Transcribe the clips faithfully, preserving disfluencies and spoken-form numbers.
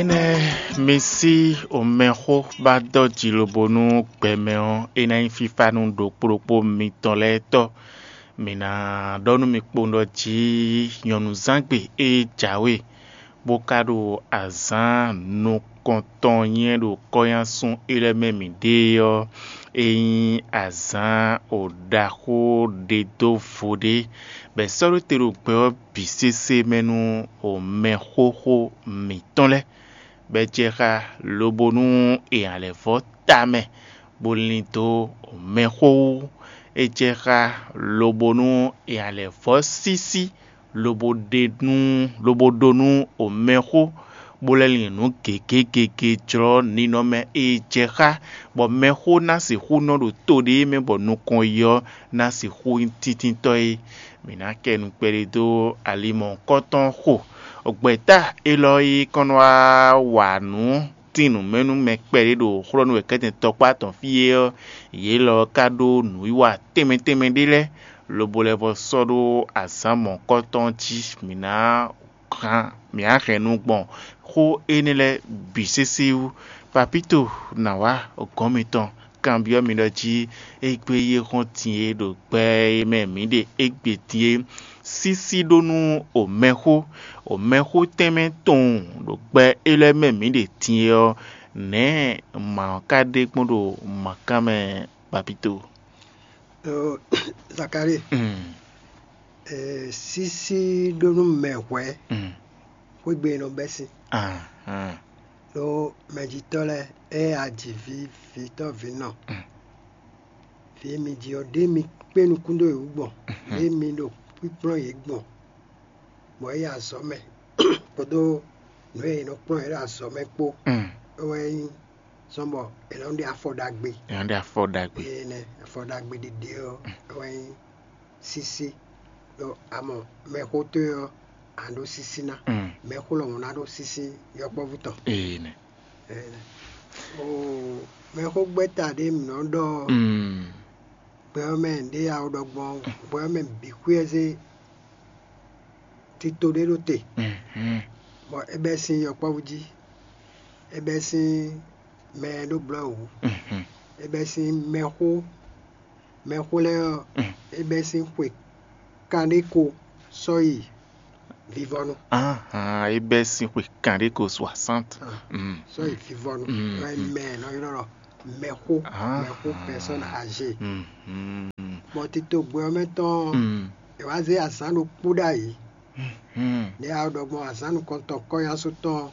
Énɛ́ mi sí omɛxó ba dɔ́ jǐ lobo nú gbɛmɛ ɔ́, é ná nyí fífá nú ɖokpó ɖokpó mitɔn lɛ́ɛ tɔ́. Mǐ ná ɖɔ nú mi kpowun ɖɔ jí nyɔ̌nuzángbe e jǎwe bó ka ɖo azǎn nukɔntɔn nyɛ ɖo kɔ́nyásún é lɛ́ɛ mɛ mǐ ɖe ɔ́, é nyí azǎn ɖaxó ɖe dó vo ɖé, bɔ è sɔ́ ɖó te ɖo gbɛ ɔ́ bǐ sésé mɛ nú mɛxóxó mǐtɔn lɛ́ɛ, bɔ é jɛ xá lobo nú è nya lɛ̌ vɔ́ ta mɛ, bó lín dó mɛxó wú. É jɛ xá lobo nú è nya lɛ̌ vɔ́ sísí, lobo ɖe nú lobo ɖó nú mɛxó, bó lɛ́ lin nǔ gěgé gěgé jlɔ́ ninɔmɛ e jɛ xá, bɔ mɛxó ná sixú nɔ ɖo to ɖé mɛ bɔ nukɔn yi ɔ́ ná sixú nyí tíntíntɔ́ é. Mǐ ná kɛ nu kpɛɖé dó ali mɔ̌hunkɔtɔn xo. Gbɛ̌ta élɔ́ e kɔn nɔ wá wa nǔ tín nǔ mɛ nú mɛ kpɛɖé ɖo xlɔ́ nú wɛ kɛ́tɛn tɔkpá tɔn fí é ɔ́, yě lɔ ka ɖó nǔwiwa tɛnmɛ tɛnmɛ ɖé lɛ́ɛ, lobo lɛ́ vɔ sɔ́ ɖó azǎn mɔ̌hunkɔtɔn jí. Mǐ ná hɛn mǐ á hɛn nu gbɔn xó énɛ́ lɛ́ɛ bǐ sésé wú. Papíto ná wá gɔ̌n mitɔn kanbyɔ́ mi ɖɔ jí égbé yi é hɔn din é ɖo gbɛ e mɛ mǐ ɖe égbé din é sísí ɖó nú omɛxó, omɛxó tɛnmɛ tɔn ɖo gbɛ é lɛ́ɛ mɛ mǐ ɖe din é ɔ́, nɛ̌ mǎ ɔ́ ka ɖe gbɔn ɖo mǎkán mɛ, Papíto? Zakalíi, sísí ɖó nú mɛ hwɛ̌ xwégbe e nɔ bɛ́ sín. Ɖó mɛjitɔ́ lɛ́ɛ, ée a ji vǐ vǐtɔ́ vǐnɔ, vǐ e mi ji ɔ́, ɖé mi kpé nukún dó yě wú gbɔn, ɖé mi ɖo kpíkplɔ́n yě gbɔn, bɔ é yi azɔ̌ mɛ kpódó nǔ e è nɔ kplɔ́n yě ɖo azɔ̌ mɛ kpó. É wɛ nyí zɔ́n bɔ è nɔ ɖe afɔ ɖagbe. È nɔ ɖe afɔ ɖagbe. Énɛ́, afɔ ɖagbe ɖiɖe ɔ́, é wɛ nyí sísí. Ɖó a mɔ, mɛxó towe ɔ́, a nǎ ɖó sísí ná. Mɛxó lɔmɔ̌ ná ɖó sísí yɔkpɔ́vú tɔn. Énɛ́. Énɛ́. Oo, mɛxó gbɛ́ta ɖé mǐ nɔ ɖɔ ɔ́, gbɛ ɔ́ mɛ ɖě a ɖɔ gbɔn ɔ́, gbɛ ɔ́ mɛ bǐ xwíɛzé tito ɖé ɖó te, bɔ é bɛ́ sín yɔkpɔ́vú jí, é bɛ́ sín mɛ e ɖó blɔ̌ wǔ, é bɛ́ sín mɛxó, mɛxó lɛ́ɛ ɔ́, é bɛ́ sín xwe kanɖé ko sɔ́ yi vivɔnu. Ahan, é bɛ́ sín xwe kanɖé ko soixante. Sɔ́ yi vivɔnu. Wɛ mɛ nɔ ylɔ́ ɖɔ mɛxó, mɛxó personne âgée. Bɔ tito gbɛ ɔ́ mɛ tɔn, è wá zé azǎn ɖokpó ɖ'ayǐ. Nɛ̌ a ɖɔ gbɔn azǎn nukɔntɔn kɔ́nyásu tɔn,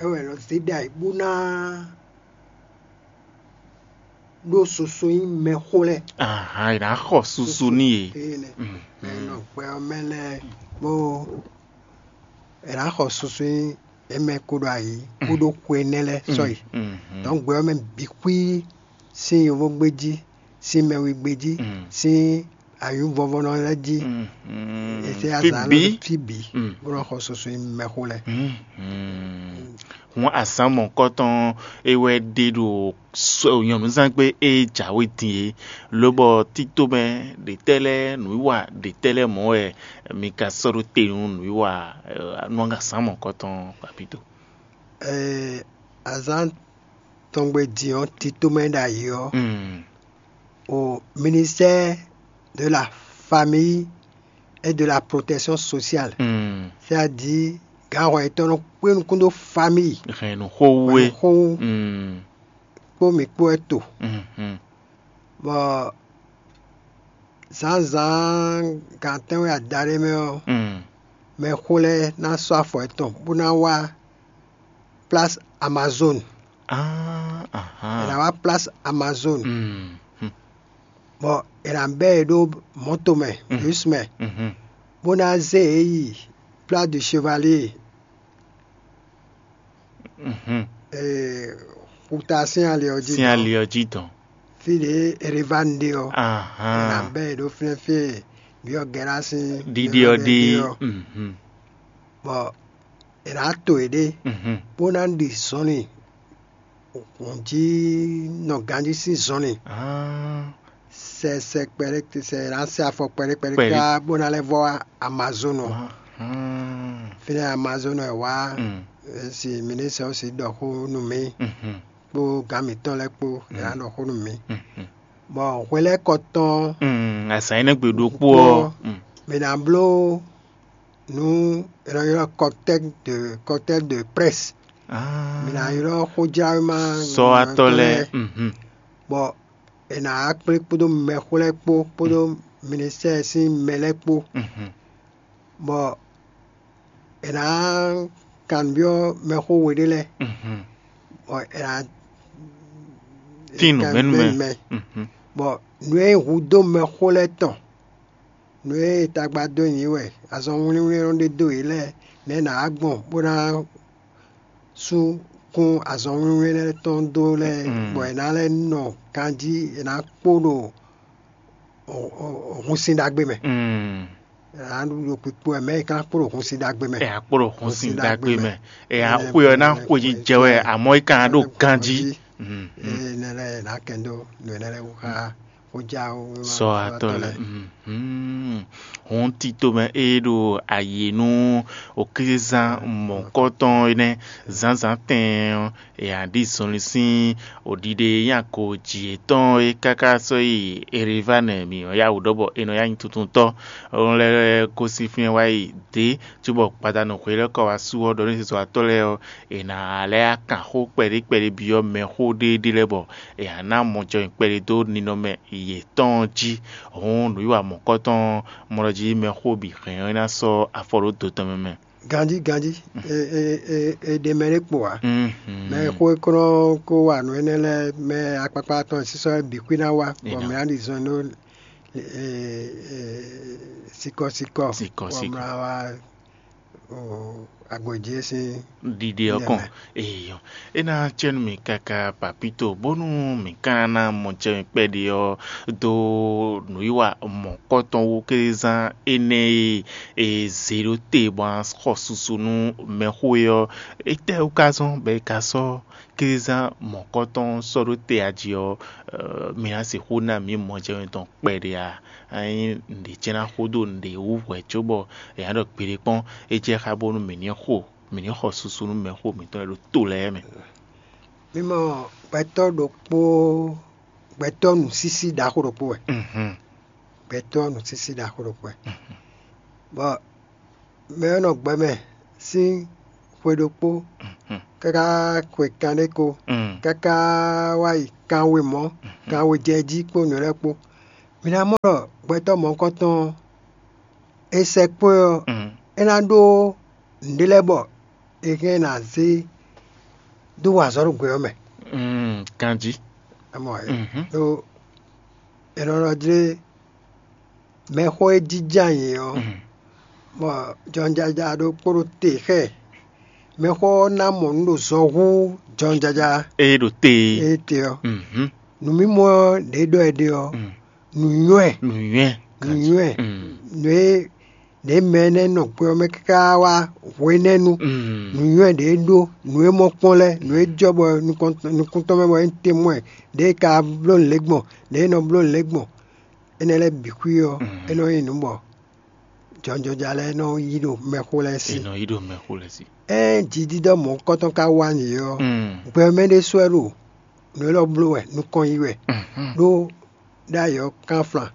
é wɛ è nɔ zé ɖ'ayǐ bó ná ɖó susu nyí mɛxó lɛ́ɛ. Ahan, è nǎ xɔ susu n'i e. Eye nɛ. Mɛ e nɔ gbɛ ɔ́ mɛ lɛ́ɛ bó è nǎ xɔ susu nyí é mɛ kó ɖo ayǐ kó ɖó xwe nɛ́ lɛ́ɛ sɔ́yi. Donc gbɛ ɔ́ mɛ bǐ xwí sín yovógbéjí, sín mɛwígbéjí, sín ayǔvɔvɔnɔ lɛ́ɛ jí. È sɛ́ azǎn lɔ fí bǐ bó nɔ xɔ susu nyí mɛxó lɛ́ɛ. Hǔn azǎn mɔ̌hunkɔtɔn é wɛ ɖe ɖo nyɔ̌nuzángbe e jǎwe din é, lobɔ títomɛ ɖětɛ́ lɛ́ɛ nǔwiwa ɖětɛ́ lɛ́ɛ mɔ̌ wɛ mi ka sɔ́ ɖó te nú nǔwiwa nú azǎn mɔ̌hunkɔtɔn, Papíto? Azǎn tɔngbe din ɔ́, títomɛ ɖ'ayǐ ɔ́, au ministère de la famille et de la protection sociale, c'est-à-dire gǎnhɔ yětɔn nɔ kpé nukún dó famille, hɛn nǔ xó wú é. Xó wú kpó mǐ kpó wɛ to. Bɔ zǎnzǎn gan tɛ́nwe adaɖé mɛ ɔ́, mɛxó lɛ́ɛ ná sɔ́ afɔ yětɔn bó ná wá place Amazone. È nǎ wá place Amazone, bɔ è nǎ bɛ́ yě ɖó mɔ̌to mɛ, bus mɛ, bó ná zé yě yi place du Chevalier, xuta sín ali ɔ́ jí. Sín ali ɔ́ jí dɔn. Fí ɖě Erevan ɖe ɔ́, è nǎ bɛ́ yě ɖó fínɛ́ fí e byɔ́ Gɛ́ra sín ɖiɖi ɔ́ ɖe. Bɔ è nǎ to yěɖée, bó ná ɖi zɔnlin hǔn jí nɔ ganjí sín zɔnlin. Sɛ sɛ kpɛɖé sɛ è nǎ sɛ afɔ kpɛɖé kpɛɖé ká bó ná lɛ́ vɔ wá Amazonu ɔ́. Fínɛ́ Amazonu ɔ́ è wá, si ministre ɔ́ si ɖɔ xó nú mì kpó gǎn mǐtɔn lɛ́ɛ kpó, yě ná ɖɔ xó nú mì. Bɔ hwelɛ́kɔ tɔn, azǎn énɛ́ gbe ɖokpó ɔ́, mǐ ná bló nǔ è nɔ ylɔ́ kɔtɛ́ de kɔtɛ́ de prɛ́s. Mǐ ná ylɔ́ xójlawéma sɔ́watɔ́ lɛ́ɛ. Bɔ è nǎ wá kplé kpódó mɛxó lɛ́ɛ kpó kpódó ministɛ́ɛ sín mɛ lɛ́ɛ kpó, bɔ è nǎ kanbyɔ́ mɛxó we ɖé lɛ́ɛ, bɔ è nǎ Tín nǔ mɛ nú mɛ. Bɔ nǔ e hudó mɛxó lɛ́ɛ tɔn, nǔ e tagba dó nyi wɛ azɔn wlínwlín nɔ ɖe dó yě lɛ́ɛ, nɛ̌ è nǎ wá gbɔn bó ná sú kún azɔn wlínwlín lɛ́ɛ tɔn dó lɛ́ɛ, bɔ è nǎ lɛ́ nɔ ganjí, è nǎ kpo ɖo hunsin ɖagbe mɛ. È nǎ ɖo kpikpo wɛ mɛ e ka kpo ɖo hunsin ɖagbe mɛ. È nǎ kpo ɖo hunsin ɖagbe mɛ. È nǎ xwe ɔ́ ná xwe jijɛ wɛ, amɔ̌ é ka ná ɖo ganjí. Ée nɛ́ lɛ́ɛ è nǎ kɛn dó nǔ énɛ́ lɛ́ɛ wú xá xójáwéma sɔ́ atɔ́ lɛ́ɛ. Hɔn tito mɛ e ɖo ayi nú oklizán mɔ̌kɔtɔn énɛ́ zǎnzǎn tɛɛn ɔ́, è nǎ ɖi zɔnlin sín oɖiɖe nyí ago jǐ yětɔn e káká sɔ́ yi Erevánɛ mǐ nɔ yá wǔ ɖɔ bɔ è nɔ yá nyi tuntuntɔ́. Ɔ́n lɛ́ɛ gosín fínɛ́ wá yi dě, cóbɔ gbadanu hwelɛ́kɔ wá sú ɔ́ ɖɔ nú zizɔ́watɔ́ lɛ́ɛ ɔ́, è nǎ lɛ́ kan xó kpɛɖé kpɛɖé byɔ́ mɛxó ɖéeɖée lɛ́ɛ bɔ è nǎ ná mɔjɔnyi kpɛɖé dó ninɔmɛ yětɔn jí. Hǔn nǔwiwa mɔ̌kɔtɔn mɔ ɖɔ jí mɛxó bǐ hɛn ɔ́ ná sɔ́ afɔ ɖó do tɔn mɛ mɛ. Ganjí ganjí, è ɖe mɛ ɖé kpo ǎ. Mɛ e xó e kɔn nɔ kó wa nǔ énɛ́ lɛ́ɛ, mɛ akpakpa tɔn e sísɔ́ bǐ xwí ná wá, bɔ mɛ ná ɖi zɔn ɖó sikɔ́sikɔ́, bɔ mɛ ná wá agbǒjí e sín ɖiɖe ɔ́ kɔn. Eyɔ, é ná cɛ́ nú mì káká papito, bónú mǐ ka ná mɔ jɛ mì kpɛɖé ɔ́ dó nǔwiwa mɔ̌kɔtɔn wú kézán énɛ́ e è zě ɖó te bɔ a xɔ susu nú mɛxó é ɔ́, étɛ́ wú ka zɔ́n bɔ è ka sɔ́ kézán mɔ̌kɔtɔn sɔ́ ɖó te a jí ɔ́, mi ná sixú ná mǐ mɔ jɛ mì tɔn kpɛɖé a? Ényí nǔɖé jɛ́n ná xo dó nǔɖé wú hwɛ̌ cóbɔ è nǎ ɖɔ gbeɖé kpɔ́n, é jɛ xá bónú mǐ ní xo, mǐ ní xɔ susu nú mɛxó mǐtɔn e ɖo to lɛ́ɛ mɛ. Mi mɔ gbɛtɔ́ ɖokpó, gbɛtɔ́ nǔsísí ɖaxó ɖokpó wɛ. Gbɛtɔ́ nǔsísí ɖaxó ɖokpó wɛ. Bɔ mɛ e nɔ gbɛ mɛ sín xwe ɖokpó káká xwe kanɖé ko, káká wá yi kanwe mɔ̌, kanwe jɛ jí kpó nǔ lɛ́ɛ kpó. Mi ná mɔ ɖɔ gbɛtɔ́ mɔ̌hunkɔtɔn ɔ́, è sɛkpɔ́ ɛ ɔ́, é ná ɖó nǔɖé lɛ́ɛ bɔ è hɛn ná zé dó wa azɔ̌ ɖo gbɛ ɔ́ mɛ. Ganjí. Amɔ ɖó è nɔ ɖɔ jlé mɛxó e jínjɔ́n ayǐ ɔ́, bɔ jɔnjaja ɖokpó ɖo te xɛ, mɛxó ɔ́ ná mɔ nǔ ɖo zɔ hú jɔnjaja. Ée ɖo te. Ée te ɔ́, nǔmimɔ ɔ́ ɖě ɖɔ è ɖe ɔ́, nǔnywɛ́, nǔnywɛ́, nǔnywɛ́, nǔ e ɖě mɛ énɛ́ nɔ gbɛ ɔ́ mɛ káká wá hwenɛ́nu, nǔnywɛ́ ɖě ɖó, nǔ e mɔ kpɔ́n lɛ́ɛ, nǔ e jɔ bɔ nukɔn tɔn mɛ bɔ é te mɔ ɛ, ɖěe ka bló nǔ lɛ́ɛ gbɔn, ɖěe nɔ bló nǔ lɛ́ɛ gbɔn, énɛ́ lɛ́ɛ bǐ xwí ɔ́, é nɔ nyí nǔ bɔ jɔjɔja lɛ́ɛ nɔ yí ɖo mɛxó lɛ́ɛ sí. È nɔ yí ɖo mɛxó lɛ́ɛ sí. Ée jǐdídɔ́ mɔ̌hunkɔtɔn ka wá nyi ɔ́, gbɛ mɛ ɖésú wɛ ɖo nǔ élɔ́ bló wɛ, nukɔn yí wɛ, ɖó ɖ'ayǐ ɔ́ kánflan,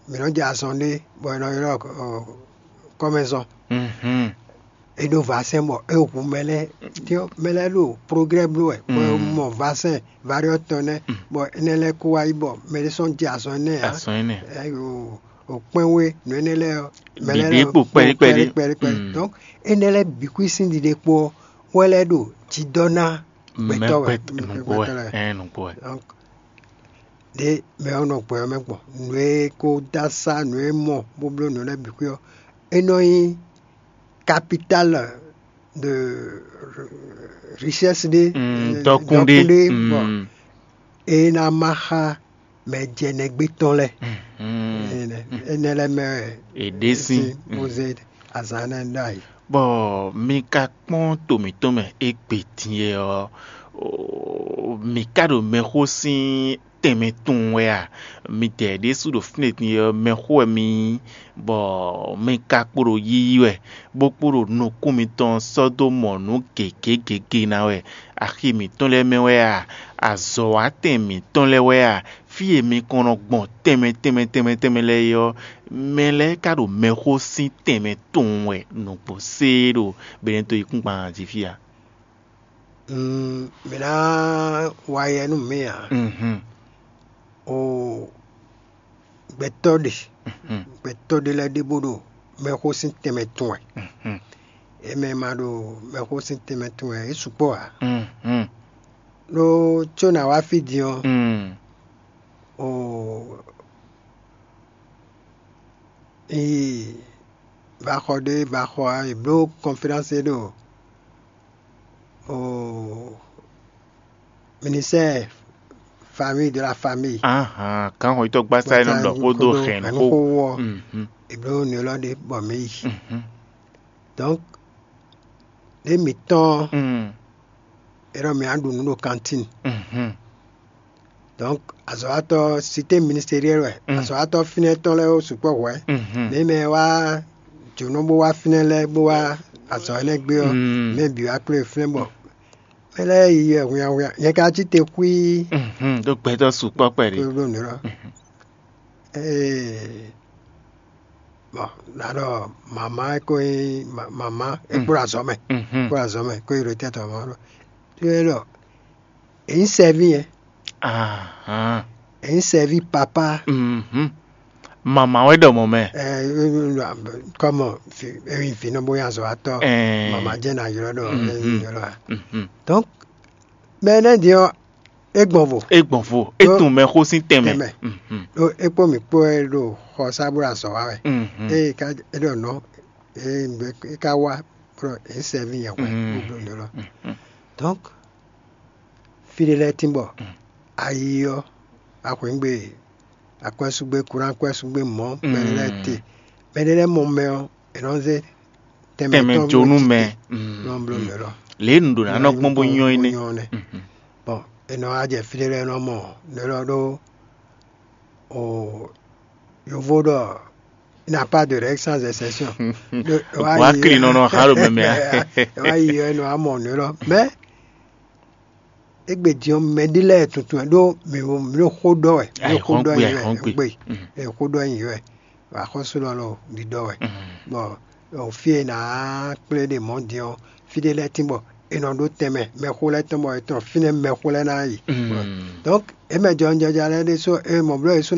mǐ nɔ jɛ azɔn ɖé bɔ è nɔ ylɔ́ kɔ́mɛzɔn. È ɖó vasɛn bɔ é hu mɛ lɛ́ɛ, mɛ lɛ́ɛ ɖo progrès bló wɛ, bɔ è mɔ vasɛn variɔ tɔn nɛ́, bɔ énɛ́ lɛ́ɛ kó wá yi bɔ mɛ ɖé sɔ́ jɛ azɔn énɛ́ ǎ. Azɔn énɛ́. O kpɛ́nwé nǔ énɛ́ lɛ́ɛ ɔ́, mɛ lɛ́ɛ Ɖiɖe kpo kpɛɖé kpɛɖé. Kpɛɖé kpɛɖé. Donc énɛ́ lɛ́ɛ bǐ xwí sín ɖiɖe kpo ɔ́ wɛ lɛ́ ɖo jidɔ́ ná gbɛtɔ́ wɛ. Nǔgbó wɛ. Donc ɖě mɛ ɔ́ nɔ gbɛ ɔ́ mɛ gbɔn nǔ e kó dó asá nǔ e mɔ bó bló nǔ lɛ́ɛ bǐ xwí ɔ́, é nɔ nyí capital de richesse ɖé, dɔkun ɖé, bɔ é ná má xá mɛ jɛnɛgbé tɔn lɛ́ɛ. Énɛ́ lɛ́ɛ mɛ wɛ è ɖe sín bó zé azǎn énɛ́ ɖó ayǐ. Bɔ mi ka kpɔ́n to mǐtɔn mɛ égbé din e ɔ́, mǐ ka ɖo mɛxó sín tɛnmɛ tunwun wɛ a? Midɛɛ ɖésú ɖo fínɛ́ din ɔ́, mɛxó wɛ mi nyí, bɔ mi ka kpo ɖo yiyi wɛ, bó kpo ɖo nukún mitɔn sɔ́ dó mɔ nǔ gěgé gěgé ná wɛ. Axi mǐtɔn lɛ́ɛ mɛ wɛ a? Azɔ̌watɛn mǐtɔn lɛ́ɛ wɛ a? Fí e mi kɔn nɔ gbɔn tɛnmɛ tɛnmɛ tɛnmɛ tɛnmɛ lɛ́ɛ é ɔ́, mɛ lɛ́ɛ ka ɖo mɛxó sín tɛnmɛ tunwun wɛ nǔgbó séé ɖo Benɛto yíkúngban jí fí a? Mǐ ná wa yɛ nú mǐ ǎ. O gbɛtɔ́ ɖe, gbɛtɔ́ ɖe lɛ́ɛ ɖe bó ɖo mɛxó sín tɛnmɛ tun wɛ. É mɛ ma ɖo mɛxó sín tɛnmɛ tun wɛ, é sukpɔ́ ǎ. Ɖó có nǎ wá fí din ɔ́, o yi vaxɔ ɖé vaxɔ ǎ, è bló kɔnféránse ɖo o ministère famille de la famille. Ahan, kan xɔ yitɔ gbasa e nɔ ɖɔ xó dó xɛn xó. Xó wɔ. Mhm. È bló nǔ élɔ́ ɖé bɔ mǐ yi. Mhm. Donc ɖé mǐtɔn Mm. é ɖɔ mǐ á ɖu nǔ ɖo kantín. Mhm. Donc azɔ̌watɔ́ sité ministériel wɛ. Mm. Azɔ̌watɔ́ fínɛ́ tɔn lɛ́ɛ ó sukpɔ́ hwɛ̌. Mhm. Mɛ mɛ wá jǒnɔ bó wá fínɛ́ lɛ́ɛ bó wá azɔ̌ énɛ́ gbé ɔ́, Mm. mɛ bǐ wá kplé fínɛ́ bɔ mɛ lɛ́ɛ yi wɛ hwinhwanhwinhwan. Nyɛ ka cí te xwíí. Mhm, ɖó gbɛtɔ́ sukpɔ́ kpɛɖé. Kó ɖó nǔ ɖɔ. Mhm. Ee, bɔn ná ɖɔ mama é kó nyí ma- mama é kpó ɖo azɔ̌ mɛ. Mhm. Kpó ɖo azɔ̌ mɛ kó yi ɖo tɛ́ tɔn mɔ ɖɔ. Tí é ɖɔ èyí sɛví yẹn. Ahan. Èyí sɛví papa. Mhm. Mama wɛ ɖɔ mɔ mɛ. Kɔmɔ èyí fi nɔ bó yàn zɔ atɔ. Ɛɛ. Mama jẹ́ nà ylɔ ɖɔ Mhm. Ylɔ a. Mhm. Donc mɛ énɛ́ din ɔ́, é gbɔn vo. É gbɔn vo. É Ɖó- tun mɛ xó sín tɛnmɛ. Tɛnmɛ. Mhm. Ɖó é kpó mǐ kpó wɛ ɖo xɔ sá bó ɖo azɔ̌ wa wɛ. Mhm. Eye é ka é ɖɔ nɔ é ŋgbɛ é ka wá bɔ é sɛví yɛn hwɛ Mm. Bó bló nǔ lɔ. Mhm. Donc fí ɖé lɛ́ɛ tín bɔ ayi ɔ́ axwǐngbe akwɛ́súgbé kuránkpɛ́súgbé mɔ̌ mɛ ɖé lɛ́ɛ te mɛ ɖé lɛ́ɛ mɔ mɛ ɔ́ è nɔ zé tɛnmɛ Tɛnmɛ tɔn jó nú mɛ. Nɔ bló nǔ lɔ. Lě e nǔ ɖo ná nɔ gbɔn bó nyɔ é nɛ. Bɔn è nɔ wá jɛ fí ɖé lɛ́ɛ nɔ mɔ nǔ lɔ ɖó o yovo ɖɔ il n'a pas de règle sans exception. Wá kli nɔ nɔ hã ɖo mɛmɛ a. Wá yi ɔ́ nɔ amɔ nǔ lɔ mɛ égbé din ɔ́ mɛ ɖé lɛ́ɛ tuntun wɛ ɖó mǐ ɖo xó ɖɔ wɛ mǐ ɖo xó ɖɔ nyi wɛ gbe xó ɖɔ nyi wɛ axɔ́sú lɔ lɔ ɖiɖɔ wɛ bɔ o fí e nǎ kplé ɖe mɔ̌ din ɔ́ fí ɖé lɛ́ɛ tín bɔ è nɔ ɖó tɛnmɛ mɛxó lɛ́ɛ tɔn bɔ è tɔn fínɛ́ mɛxó lɛ́ɛ ná yi. Donc é mɛ jɔnjɔja lɛ́ɛ ɖésú é mɔ bló yě sú